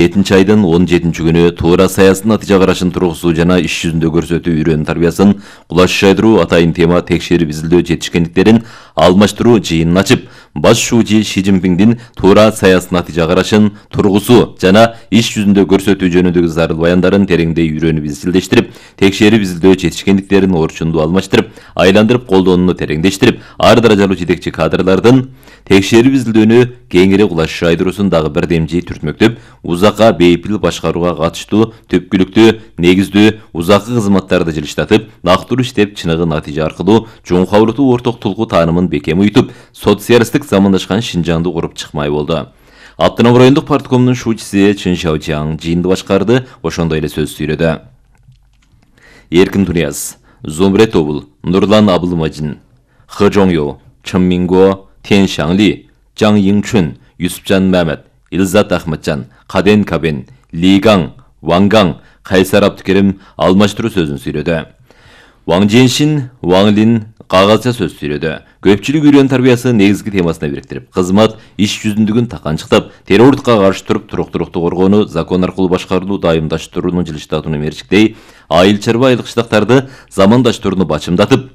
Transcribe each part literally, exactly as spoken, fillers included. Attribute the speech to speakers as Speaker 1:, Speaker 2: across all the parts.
Speaker 1: жетинчи айдын он жетинчи күнү туура саясий натыйжа карашын тургузуу жана иш жүзүндө көрсөтүү үйрөнүү тарбиясын кулаш жайдыруу атайын тема текшерип изилдөө жетишкендиктерин алмаштыруу жыйынын ачып, баш шүүжи Ши Цзиньпиндин туура саясий натыйжа карашын тургузуу жана иш жүзүндө көрсөтүү жөнүндөгү зарыл баяндарын тереңдей үйрөнүп изилдештирип, текшерип изилдөө жетишкендиктерин орчундуу алмаштырып, айландырып колдонууну тереңдештирип, ар даражалуу жетекчи кадрлардын текшерип изилдөөнү кеңири кулаш жайдыруусун дагы бирдемжи түртмөктөп, узакка бейпил башкарууга катыштуу түпкүлүктүү, негиздүү, узаккы кызматтарды жылыштатып, нактылуу иштеп, чыныгы натыйжа аркылуу жоңкабылыктуу орток тулкуу таанымын бекем уютуп, социалисттик замандашкан Шинжаңды куруп чыкмай болду. Автономдук райондук парткомдун шүүчүсү Чын Шаочаң жыйынды башкарды, ошондой эле сөз сүйлөдү. Эркин Тунияз, Зумрет Обул, Нурлан Абылмажин, Хы Жоңё, Чын Минго, Тен Шаңли, Жаң Йиңчүн, Юсупжан Мәмет, Илзат Ахматжан, Каден Кабен, Лигаң, Ваңгаң, Кайсар Абдыкерим алмаштыруу сөзүн сүйлөдү. Ваң Женшин, Ваң Лин кагазча сөз сүйлөдү. Көпчүлүк үйрөнүү тарбиясы негизги темасына бириктирип, кызмат иш жүзүндүгүн таканчыктап, террордукка каршы туруп, туруктуулукту коргоону, закон аркылуу башкарууну дайымдаштырууну жылыштатууну мерчиктей, айыл чарба айылык штактарды замандаштырууну бачымдатып,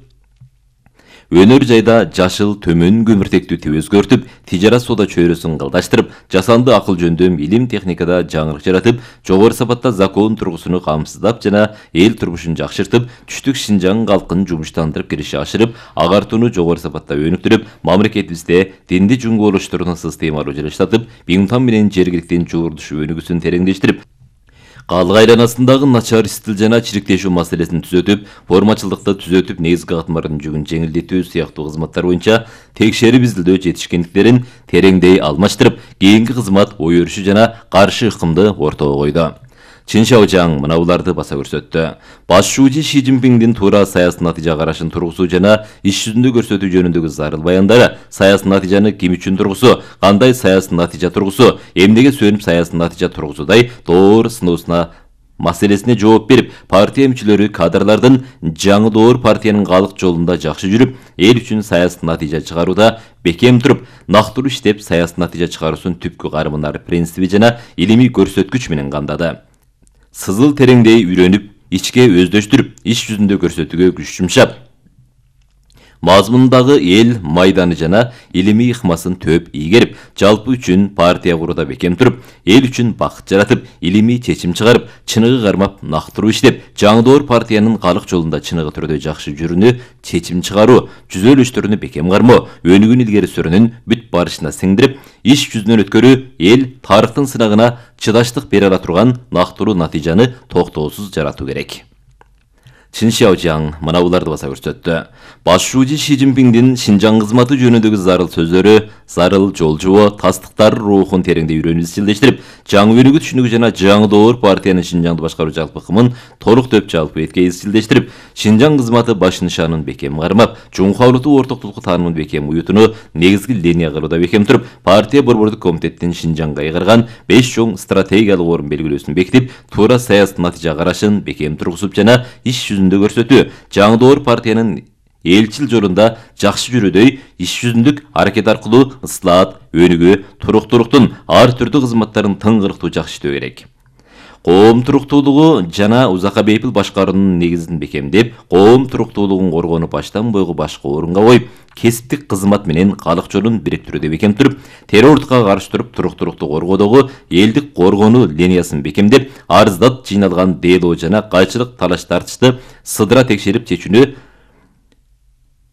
Speaker 1: өнөр жайда жашыл төмөн көмүртектүү тип өзгөртүп, тижарат соода чөйрөсүн кылдаштырып, жасанды акыл жөндөм илим техникада жаңырык жаратып, жогору сапатта закон тургусуну камсыздап жана эл турмушун жакшыртып, түштүк Шинжаң калкын жумуштандырып кириши ашырып, агартууну жогору сапатта өнүктүрүп, мамлекетибизде динди жумгоолоштурууну системалуу жылыштатып, Бигмтан менен жергиликтин жуурдуш өнүгүүсүн тереңдештирип, калык айланасындагы начар стил жана чириктешүү маселесин түзөтүп, формачылдыкты түзөтүп, негизги катмардын жүгүн жеңилдетүү сыяктуу кызматтар боюнча текшерип изилдөө жетишкендиктерин тереңдей алмаштырып, кийинки кызмат ой өрүшү жана каршы ыкымды ортого койду. Чын Шаочаң мына буларды баса көрсөттү. Баш шүүжи Ши Цзиньпиндин туура саясий натыйжа карашын тургузуу жана иш жүзүндө көрсөтүү жөнүндөгү зарыл баяндары, саясий натыйжаны ким үчүн тургусу, кандай саясий натыйжа тургусу, эмнеге сүйөнүп саясий натыйжа тургузудай доор сыноосуна маселесине жооп берип, партия мүчөлөрү кадрлардын жаңы доор партиянын калык жолунда жакшы жүрүп, эл үчүн саясий натыйжа чыгарууда бекем туруп, нактылуу иштеп, саясий натыйжа чыгаруусун түпкү карымынар принциби жана илимий көрсөткүч менен камдады. Сызыл тереңдей үйрөнүп, ичке өздөштүрүп, иш жүзүндө көрсөтүүгө күч жумшап, мазмундагы эл майданы жана илимий ыкмасын төп ийгерип, жалпы үчүн партия курууда бекем туруп, эл үчүн бакыт жаратып, илимий чечим чыгарып, чыныгы кармап, нактылуу иштеп, жаңы доор партиянын калык жолунда чыныгы түрдө жакшы жүрүүнү чечим чыгаруу, түзөлүштөрүнү бекем кармоо, өнүгүүнү илгери сүрүүнүн бүт барышына сиңдирип, иш жүзүнөн өткөрүү, эл тарыхтын сынагына чыдаштык бере ала турган нактылуу натыйжаны токтоосуз жаратуу керек. Чын Шаочаң мына буларды баса көрсөттү. Баш шүүжи Ши Цзиньпиндин Шинжаң кызматы жөнүндөгү зарыл сөздөрү, зарыл жол жобо, тастыктар рухун тереңдей үйрөнүп изилдештирип, жаңы өнүгүү түшүнүгү жана жаңы доор партиянын Шинжаңды башкаруу жалпы ыкымын толук төп жалпы эткей изилдештирип, Шинжаң кызматы баш нышанын бекем кармап, жоңкабылыктуу ортоктулук таанымын бекем уютууну негизги линия кылууда бекем туруп, партия борбордук комитеттин Шинжаңга айгарган беш чоң стратегиялык орун белгилөөсүн бекитип, туура саясий натыйжа карашын бекем тургузуп жана иш жүзүндө көрсөтүү, жаңы доор партиянын элчил жолунда жакшы жүрүүдөй иш жүзүндүк аракет аркылуу ыслаат, өнүгүү, туруктуулуктун ар түрдүү кызматтарын тыңгырыктуу жакшы иштөө керек. Коом туруктуулугу жана узакка бейпил башкаруунун негизин бекемдеп, коом туруктуулугун коргоону баштан бойгу башкы орунга коюп, кесиптик кызмат менен калык жолун бириктирүүгө бекем туруп, террордукка каршы туруп, туруктуулукту коргоодогу элдик коргонуу линиясын бекемдеп, арыздат жыйналган дело жана кайчылык талаш тартышты сыдыра текшерип чечүүнү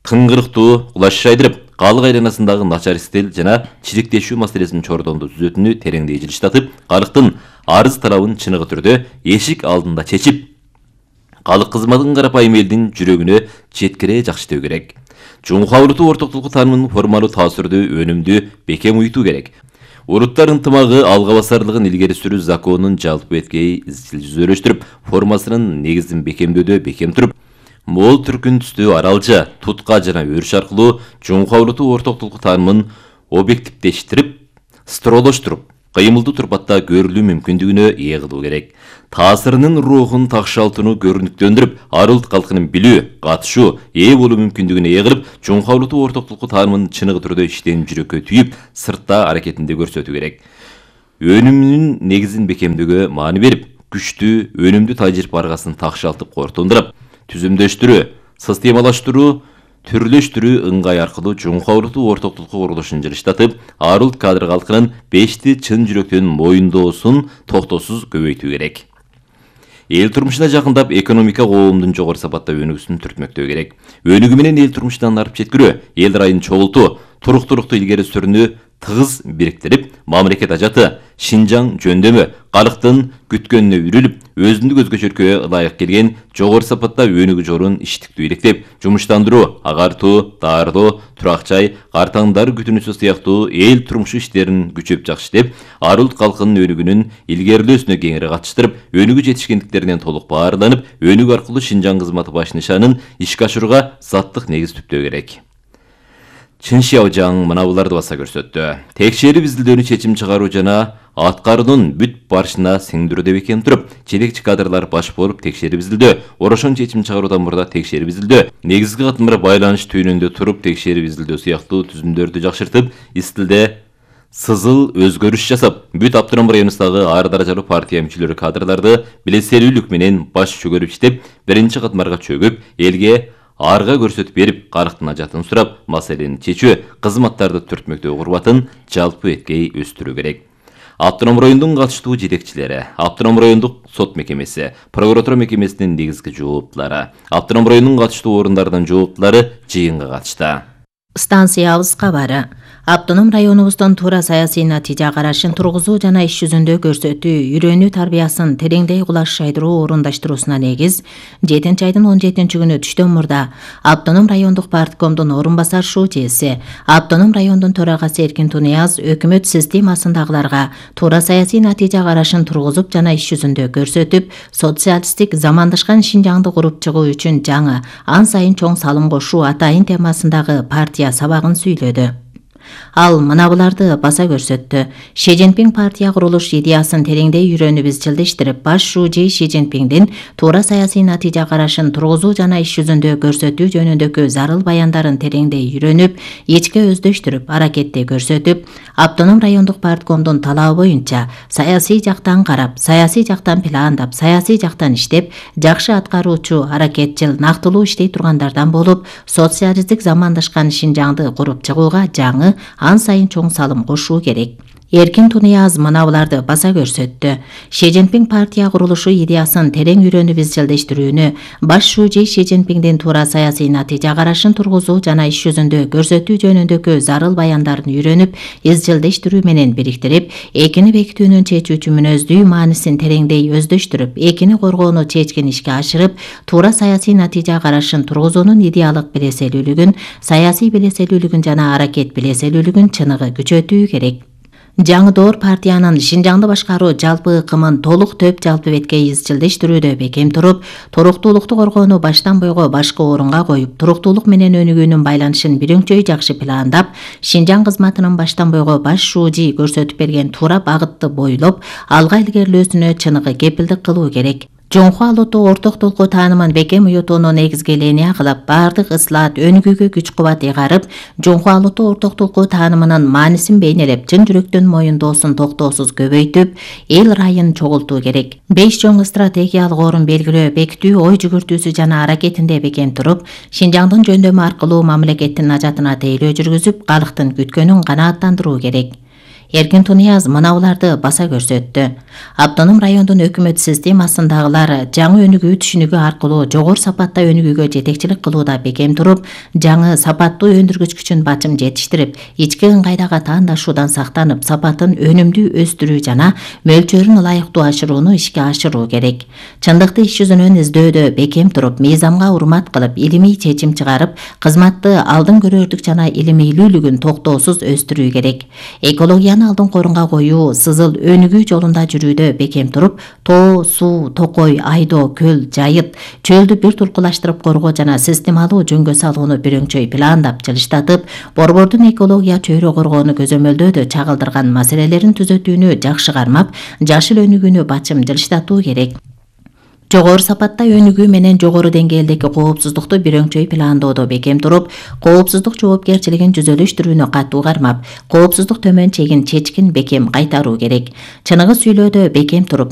Speaker 1: тыңгырыктуу кулаш жайдырып, калык айланасындагы начар стил жана чириктешүү маселесин чордондо түзөтүүнү тереңдей жылыштатып, калыктын арыз талабын чыныгы түрдө эшик алдында чечип, калык кызматын карапайым элдин жүрөгүнө жеткире жакшытөө керек. Жоңкабылыктуу ортоктулук таанымын формалуу таасирдүү, өнүмдүү, бекем уютуу керек. Уруттар ынтымагы алга басарлыгын илгери сүрүү законунун жалпы эткей изчил жүзөлөштүрүп, формасынын негизин бекемдөөдө бекем туруп, мол түркүн түстүү аралжа, тутка жана өрүш аркылуу жоңкабылыктуу ортоктулук таанымын объективдештирип, стролоштуруп, кыймылдуу турпатта көрүлүү мүмкүндүгүнө ээ кылуу керек. Таасирынын рухун такшалтууну көрүнүктөндүрүп, ар улут калкынын билүү, катышуу, ээ болуу мүмкүндүгүнө ээ кылып, жоңкабылыктуу ортоктулук таанымын чыныгы түрдө иштен жүрөккө түйүп, сыртта аракетинде көрсөтүү керек. өнүмүнүн негизин бекемдөөгө маани берип, күчтүү, өнүмдүү тажирипе аргасын такшалтып корутундурап, түзүмдөштүрүү, системалаштыруу, түрлөштүрүү ыңгай аркылуу жуңку улуттуу ортоктулукка курулушун жылыштатып, ар улут кадр калкынын бешти чын жүрөктөн моюндоосун токтоосуз көбөйтүү керек. Эл турмушуна жакындап, экономика коомдун жогору сапатта өнүгүүсүн түртмөктөө керек. Өнүгүү менен эл турмушунан арып жеткирүү, эл райын чогултуу, туруктуулукту илгери сүрүүнү тыгыз бириктирип, мамлекет ажаты, Шинжаң жөндөмү, калктын күткөнүнө үрүлүп, өзүндүк өзгөчөлүккө ылайык келген жогору сапатта өнүгүү жолун иштиктүү иликтеп, жумуштандыруу, агартуу, даардоо, турак жай, картаңдар күтүнүүсү сыяктуу эл турмушу иштерин күчөп жакшыртып, ар улут калкынын өнүгүүнүн илгерилөөсүнө кеңири катыштырып, өнүгүү жетишкендиктеринен толук баарланып, өнүгүү аркылуу Шинжаң кызматы баш нишанын ишке ашырууга заттык негиз түптөө керек. Чын Шяожаң мына буларды баса көрсөттү. Текшерип изилдөөнү чечим чыгаруу жана аткаруунун бүт барышына сиңдирүүдө бекем туруп, жетекчи кадрлар баш болуп текшерип изилдөө, орошон чечим чыгаруудан мурда текшерип изилдөө, негизги катмара байланыш түйүнүндө туруп текшерип изилдөө сыяктуу түзүмдөрдү жакшыртып, из тилде сызыл өзгөрүш жасап, бүт Автоном районундагы ар даражалуу партия мүчөлөрү кадрларды билеселүүлүк менен баш чөгөрүп иштеп, биринчи катмарга чөгүп, элге арга көрсөтүп берип, калктын ажатын сурап, маселени чечүү, кызматтарды түртмөктөө курбатын жалпы эткей өстүрүү керек. Автоном райондун катыштуу жетекчилери, Автоном райондук сот мекемеси, прокуратура мекемесинин негизги жооптулары, Автоном районунун катыштуу орундарынын жооптулары жыйынга катышты.
Speaker 2: Станциябыз кабары. Автоном районубуздун туура саясий натыйжа карашын тургузуу жана иш жүзүндө көрсөтүү, үйрөнүү тарбиясын тереңдей кулаш шайдыруу орундаштыруусуна негиз жетинчи айдын он жетинчи күнү түштөн мурда Автоном райондук парткомдун орун басар шүүчеси, Автоном райондун төрагасы Эркин Тунияз өкмөт системасындагыларга туура саясий натыйжа карашын тургузуп жана иш жүзүндө көрсөтүп, социалисттик замандашкан Шинжаңды куруп чыгуу үчүн жаңы, ан сайын чоң салым кошуу атайын темасындагы партия сабагын сүйлөдү. Ал мына буларды баса көрсөттү. Ши Цзиньпин партия курулуш идеясын тереңдей үйрөнүп изчилдештирип, баш шүүчи Ши Цзиньпиндин туура саясий натыйжа карашын тургузуу жана иш жүзүндө көрсөтүү жөнүндөгү зарыл баяндарын тереңдей үйрөнүп, ичке өздөштүрүп, аракетте көрсөтүп, Автоном райондук парткомдун талабы боюнча саясий жактан карап, саясий жактан пландап, саясий жактан иштеп, жакшы аткаруучу, аракетчил, нактылуу иштей тургандардан болуп, социалисттик замандашкан Шинжаңды куруп чыгууга жаңы, ан сайын чоң салым кошуу керек. Эркин Тунияз мына буларды баса көрсөттү. Ши Цзиньпин партия курулушу идеясын терең үйрөнүп изчилдештирүүнү, баш шүүчи Ши Цзиньпиндин туура саясий натыйжа карашын тургузуу жана иш жүзүндө көрсөтүү жөнүндөгү зарыл баяндарын үйрөнүп, изчилдештирүү менен бириктирип, экини бекитүүнүн чечүүчү мүнөздүү маанисин тереңдей өздөштүрүп, экини коргоону чечкин ишке ашырып, туура саясий натыйжа карашын тургузуунун идеялык билеселүүлүгүн, саясий билеселүүлүгүн жана аракет билеселүүлүгүн чыныгы күчөтүү керек. Жаңы доор партиянын Шинжаңды башкаруу жалпы ыкымын толук төп жалпы бетке изчилдештирүүдө бекем туруп, туруктуулукту коргоону баштан бойго башкы орунга коюп, туруктуулук менен өнүгүүнүн байланышын бирөңчөй жакшы пландап, Шинжаң кызматынын баштан бойго баш шүүчи көрсөтүп берген туура багытты бойлоп, алга илгерилөөсүнө чыныгы кепилдик кылуу керек. Жоңку алуттуу ортоктулукку таанымын бекем уютууну негизги линия кылып, бардык ыслаат өнүгүүгө күч кубат ыйгарып, жоңку алуттуу ортоктулукку таанымынын маанисин бейнелеп, чын жүрөктөн моюндоосун токтоосуз көбөйтүп, эл райын чогултуу керек. Беш чоң стратегиялык орун белгилөө, бекитүү, ой жүгүртүүсү жана аракетинде бекем туруп, Шинжаңдын жөндөмү аркылуу мамлекеттин ажатына тейлөө жүргүзүп, калктын күткөнүн канааттандыруу керек. Эркин Тунияз мына буларды баса көрсөттү. Автоном райондун өкмөт системасындагылар жаңы өнүгүү түшүнүгү аркылуу жогору сапатта өнүгүүгө жетекчилик кылууда бекем туруп, жаңы сапаттуу өндүргүч күчүн бачым жетиштирип, ички ыңгайдагы таандашуудан сактанып, сапатын өнүмдүү өстүрүү жана мөлчөрүн ылайыктуу ашырууну ишке ашыруу керек. Чындыкты иш жүзүнөн издөөдө бекем туруп, мыйзамга урмат кылып, илимий чечим чыгарып, кызматты алдын көрөрлүк жана илимилүүлүгүн токтоосуз өстүрүү керек. Экологияны алдын корунга коюу, сызыл өнүгүү жолунда жүрүүдө бекем туруп, тоо, суу, токой, айдоо, көл, жайыт, чөлдү бир туркулаштырып коргоо жана системалуу жөнгө салууну бирөңчөй пландап, жылыштатып, борбордун экология чөйрө коргоону көзөмөлдөөдө чагылдырган маселелерин түзөтүүнү жакшы кармап, жашыл өнүгүүнү бачым жылыштатуу керек. Жогору сапатта өнүгүү менен жогору деңгээлдеги коопсуздукту бирөңчөй пландоодо бекем туруп, коопсуздук жоопкерчилигин жүзөлүштүрүүнү катуу кармап, коопсуздук төмөн чегин чечкин бекем кайтаруу керек. Чыныгы сүйлөөдө бекем туруп,